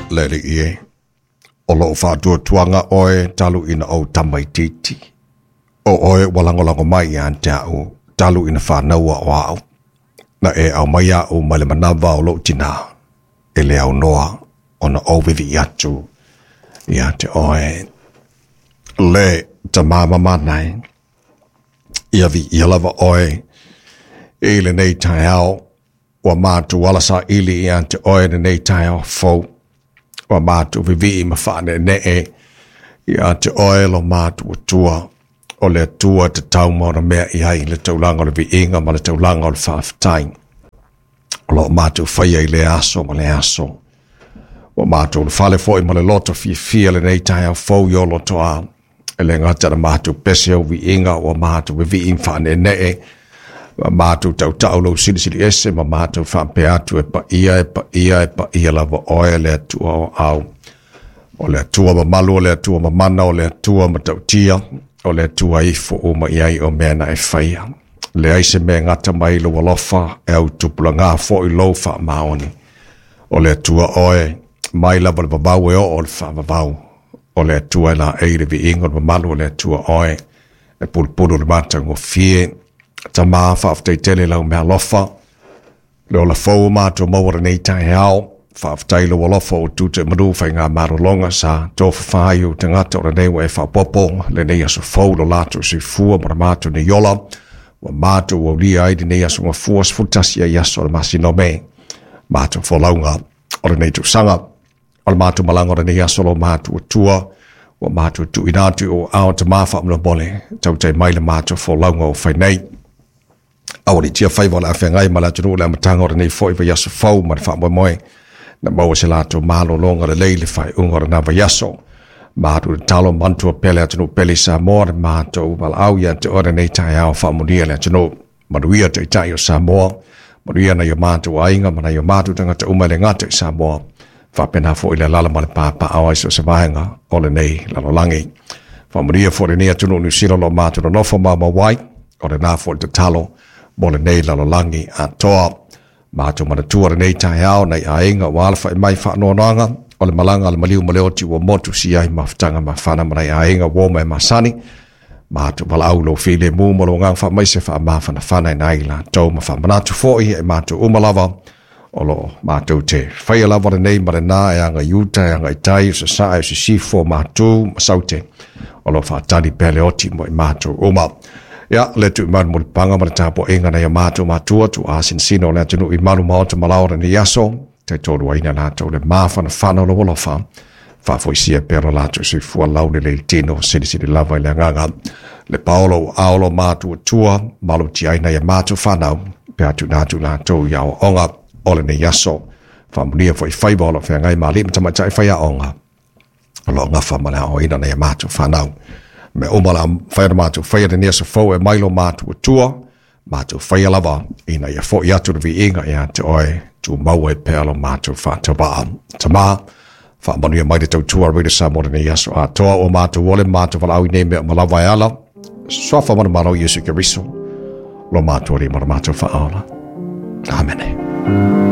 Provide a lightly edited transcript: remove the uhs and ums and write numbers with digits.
Le Alii e, o lou faatuatuaga oe talu ina ou tamaitiiti. O oe ua lagolago mai ia te au talu ina fanaua o au. Na e aumai au mai le manava o lou tinā, e le aunoa ona ou vivii atu ia te oe. Le Tamā mamana e, ia viia lava oe i lenei taeao. Ua matou ala saili ia te oe lenei taeao fou. Ua matou vivii ma faaneenee ia te oe lo matou Atua. O le Atua e tatau ma ona mea i ai le taulaga o le viiga ma le taulaga o le faafetai. O lo o matou faia i lea aso ma lea aso. Ua matou ulufale foi ma le loto fiafia lenei taeao fou i o lotoa. E le gata na matou pese au viiga, ua matou vivii ma faaneenee, ua matou tautau lou silisili ese ma matou faapea atu e paia, e paia, e paia lava oe le Atua o au. O le Atua mamalu, o le Atua mamana, o le Atua matautia, o le Atua ifo uma i ai o mea na e faia. Leai se mea e gata mai lou alofa, e au tupulaga foi lou faamaoni. O le Atua oe, mai lava le vavau e oo le faavavau. O le Atua e laei le viiga o le mamalu o le Atua oe, e pulupulu le matagofie. Tama, faafetai tele lau meaalofa, le ola fou o matou maua lenei taeao. Faafetai lou alofa o tute manu faiga malologa sa tofafa ai ou tagata o lenei ua e faaopoopo lenei aso fou lo latou soifua ma le matou nei ola. Ua matou aulia ai lenei aso gafua 11 ai aso o le masina o Me. Matou folauga o lenei tausaga. O le matou malaga o lenei aso lo matou Atua, ua matou tuuina atu i ou aao Tama faamolemole, tautai mai le matou folauga o fai nei. Aualiitia faiva o le a feagai ma le atunuu i le amataga o lenei foi vaiaso fou ma le faamoemoe na maua se latou malologa lelei i le faaiuga o lena vaiaso. Matou tatalo manatua pea le atunuu pele i Samoa, le matou valaau ia te oe lenei taeao faamonia le atunuu. Manuia Taitai o Samoa, manuia nai o matou aiga ma nai o matou tagata uma e le gata i Samoa, faapena foi le alaala ma le papaaao ai so o se vaega o lenei lalolagi. Faamanuia foi lenei atunuu Niu Sila o lo o matou nonofo maumau ai, o lena foi le tatalo mo lenei lalolagi atoa. Matou manatua lenei taeao nai aiga ua alafai mai faanoanoaga o le malaga a le maliu ma le oti ua motu siai mafutaga mafana ma nai aiga uo ma e masani. Matou valaau lou filemu ma lou agaga faamaise faamafanafana ina ai latou ma faamanatu foi e matou uma lava o lo o matou te faia lava lenei ma lena e aga i uta, e aga i tai, o sasae, o sisifo, o matu, ma saute. O lo o faatali pea le oti mo i matou uma. Ia, le tuu i malu mulipaga ma le tapuaiga nai o matou matua, tuaa sinosino o le atunuu i malu maota ma lao o lenei aso, taitoluaina latou le mafanafana o lou alofa, faafoisia pea lo latou soifua laulelei i le tino, silisili lava i le agaga. Le paolo ua aolo matuatua, malutia ai nai a matou fanau, pe a tuuina atu latou i aoaoga o lenei aso. Faamanuia foi faiva o lo o feagai ma alii ma tamaitai faiaoga, o lo o gafa ma le aoaoina nai a matou fanau. Mea uma o le a mafai ona matou faia lenei aso fou e mai lo matuatua, matou faia lava ina ia foi atu le viiga ia te oe, tumau ai pea lo matou faatauvaa. Tama, faamanuia mai le tautua a Radio Samoa lenei aso atoa, ua matou ole ma matou valaau i nei mea uma lava e ala suafa manumalo Iesu Keriso, lo matou Alii ma lo matou Faaola. Amene.